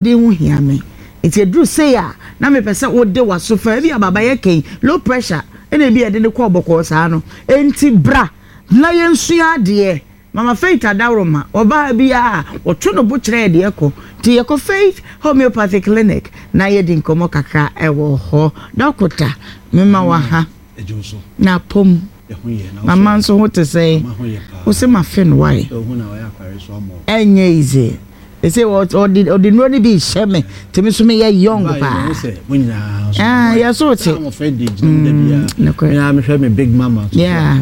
Din ho hia me. Nti ɛduru sei a, na mepɛ sɛ wode w'aso fa. Ebia Baba yɛ kɛn, low pressure ɛna ebia ɛde no kɔɔ bɔkɔɔ saa no. Enti bra na yɛnsua adeɛ. Mama Faith Adaworoma, ɔba ha biara a, ɔto ne bo kyerɛ yɛn deɛ ɛkɔ. Nti yɛkɔ Faith Homeopathy Clinic na yɛdi nkɔmmɔ kakra wɔ hɔ. Dɔkota, mema wo aha. Na apom. Mama nso ho te sɛn? Wo se mafe no why? Ɛnyɛ easy. They say ɔde ɔde nnuro no bi rehyɛ me nti me nso meyɛ young paa. Ah, yɛ so te. Nokorɛ. Yeah.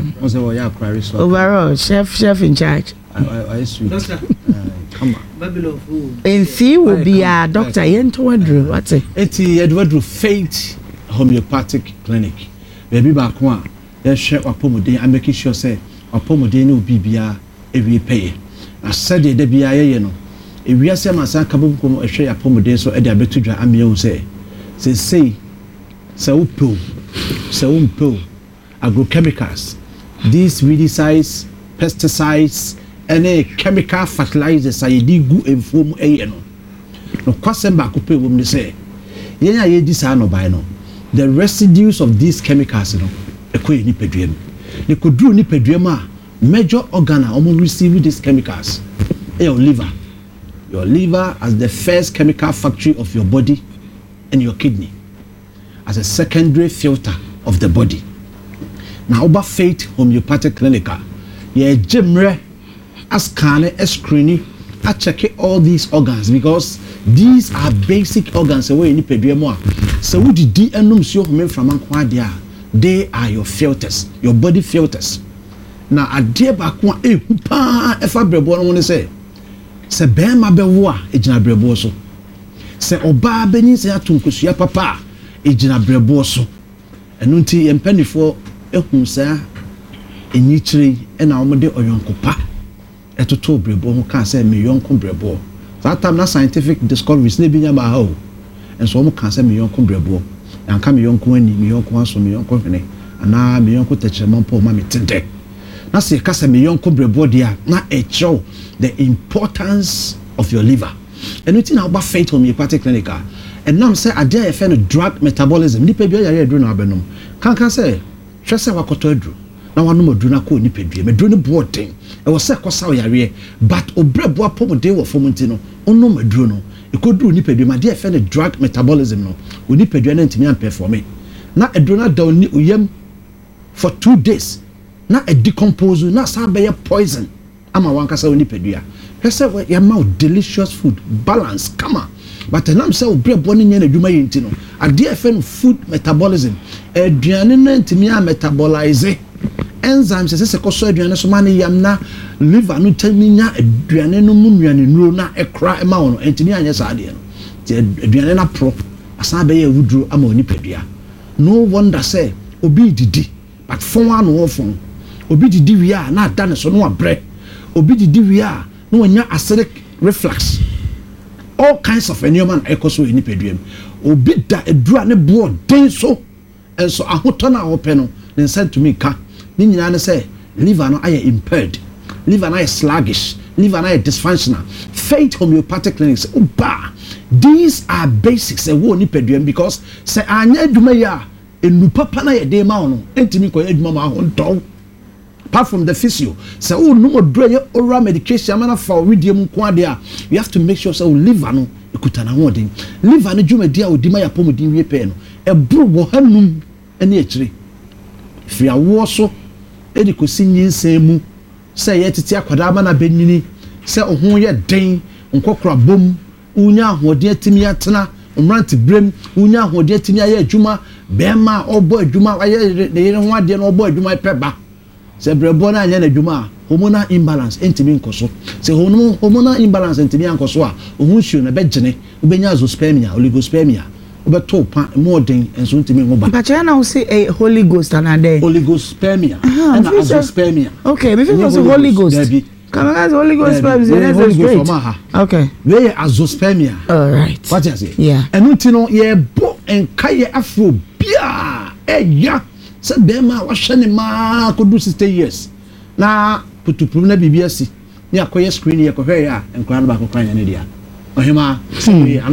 Overall, chef in charge. Mfii wɔ biara, doctor yɛntɔ aduro wate. Eti yɛde waduro Faith Homeopathic Clinic. Baabi baako a yɛhwɛ w'apɔmuden a make sure sɛ w'apɔmuden ne wo biribiara awie pɛyɛ. Na sɛdeɛ da biara yɛyɛ no, ewiase amansan nkabom no hwɛ yɛn apɔmuden so de abɛto dwa ama yɛahu sɛ seesei sɛ wopɛ o, sɛ wompɛ o, agrochemicals, these weedicides, pesticides ne chemical fertilizers a yɛde gu mfuo mu yɛ no, Nokwasɛm baako pɛ a ɛwɔ mu ne sɛ, yɛn a yɛredi saa nnɔbae no, the residues of these chemicals no, ɛkɔ yɛn nipadua mu. Na ɛkɔduru nipadua mu a, major organ a wɔn receive these chemicals yɛ your liver. Your liver as the first chemical factory of your body and your kidney as a secondary filter of the body. Na woba Faith Homeopathic Clinic a, yɛregye mmerɛ ascanne, ascreeni, akyɛke all these organs because these are basic organs ɛwɔ yɛn nipadua mu a sɛ wodidi nom nsuo home mframa nko ara deɛ a, they are your filters, your body filters. Na adeɛ baako a ɛhu paa ɛfa brɛboɔ no ho ne sɛ, sɛ barima bɛwo a, ɛgyina brɛboɔ so. Sɛ ɔbaa bɛnyinsɛn ato nkosua papa a, ɛgyina brɛboɔ so. Ɛno nti yɛn mpaninfoɔ huu saa nyikyerɛ yi na wɔde ɔyɔnko pa totoo brɛboɔ ho kaa sɛ me yɔnko brɛboɔ. Saa time na scientific discoveries na ebi nya mmaa ha o. Nso wɔn kaa sɛ me yɔnko brɛboɔ. Yɛanka me yɔnko ani, me yɔnko aso, me yɔnko hwene anaa me yɔnko tɛkyerɛma mpo ɔma me te dɛ. Na sɛ yɛka sɛ me yɔnko brɛboɔ deɛ a na ɛkyerɛ wo the importance of your liver. Ɛno nti na woba Faith Homeopathic Clinic a, ɛnam sɛ adeɛ a yɛfrɛ no drug metabolism, nipa bi ɔyare aduro na wabɛnom, kanka sɛ hwɛ sɛ wakɔtɔ aduro na wanom aduro no akɔ onipadua mu, aduro no boɔ den, ɛwɔ sɛ ɛkɔsa wo yareɛ, but wo brɛboɔ apɔmuden wɔ fam nti no, wonom aduro no, ɛkɔduru nipadua mu, adeɛ a yɛfrɛ no drug metabolism no, wo nipadua no antumi ampɛfɔme, na aduro no ada wo yam for 2 days, na ɛdecompose, na asan abɛyɛ poison ama wankasa wo nipadua. Hwɛ sɛ yɛama wo delicious food, balance kama, but ɛnam sɛ wo brɛboɔ no nyɛ n'adwuma yɛ nti no, adeɛ a yɛfrɛ no food metabolism, aduane no antumi a metabolize, enzymes ɛsɛ sɛ kɔsɔ aduane so ma ne yam na liver no tumi nya aduane no mu nnuanennuro na ɛkora ma wo no, antumi anyɛ saa adeɛ no. Nti aduane no aporɔ asan abɛyɛ awuduro ama wo nipadua. No wonder sɛ obi redidi but fɔn ara na ɔrefɔn. Obi didi wie a na ada ne so na wabrɛ. Obi didi wie a na wanya acidic reflux. All kinds of nneɛma na ɛkɔ so wɔ nipadua mu. Obi da aduru a ne boɔ den so nso ahotɔ no a ɔpɛ no ne nsa ntumi nka. Ne nyinaa ne sɛ liver no ayɛ impaired, liver no ayɛ sluggish, liver no ayɛ dysfunctional. Faith Homeopathic Clinic sɛ woba a, these are basics ɛwɔ nipadua mu because sɛ anyɛ adwuma yi a, nnuru papa no a yɛde ma wo no ntumi nkɔyɛ adwuma ma ahontɔ wo. Apart from the physio, sɛ wonom aduru a ɛyɛ oral medication ama no afa wo wedeɛ mu nko adeɛ a, you have to make sure sɛ wo liver no ɛkuta n'ahoɔden. Liver no dwumadi a ɔdi ma yɛ apɔmuden wie pɛɛ no, ɛboro wɔ hanum ne akyire. Firi awoɔ so de kɔsi nyinsɛn mu, sɛ yɛtete akwadaa ma no abɛnyini, sɛ wo ho yɛ den, nkɔkorabɔ mu, wonya ahoɔden atumi atena mmeranteberɛm, wonya ahoɔden atumi ayɛ adwuma, bɛrima a ɔbɔ adwuma, wayɛ ne yere ho adeɛ na ɔbɔ adwuma pɛ ba. Sɛ brɛboɔ no anyɛ n'adwuma a, hormonal imbalance ntumi nkɔ so. Sɛ hormonal imbalance ntumi ankɔ so a, wo ho nsuo no ɛbɛgyene, wobɛnya azoospermia, oligospermia, wobɛto pa, emu ɔden nso ntumi nwo ba. Mpakyɛ na wo se ɛyɛ Holy Ghost anaa dɛn? Oligospermia ɛna azoospermia. Okay, me fi sɛ Holy Ghost. Dabi. Kàmá sɛ Holy Ghost sperm sɛ ɛyɛ Holy Ghost ɔmo aha. Okay. Wei yɛ azoospermia. All right. Wate ase? Yeah. Ɛno ti no yɛbɔ nkayɛ afro biaa ɛya sɛ bɛrima a wahwɛ ne maa kɔdu 60 years na putupurum na biribi asi ne akɔyɛ screen, yɛkɔhwɛ yɛ a, nkwadaa no baako kora nyɛ ne dea. Ɔhemaa, sɛ wei ano.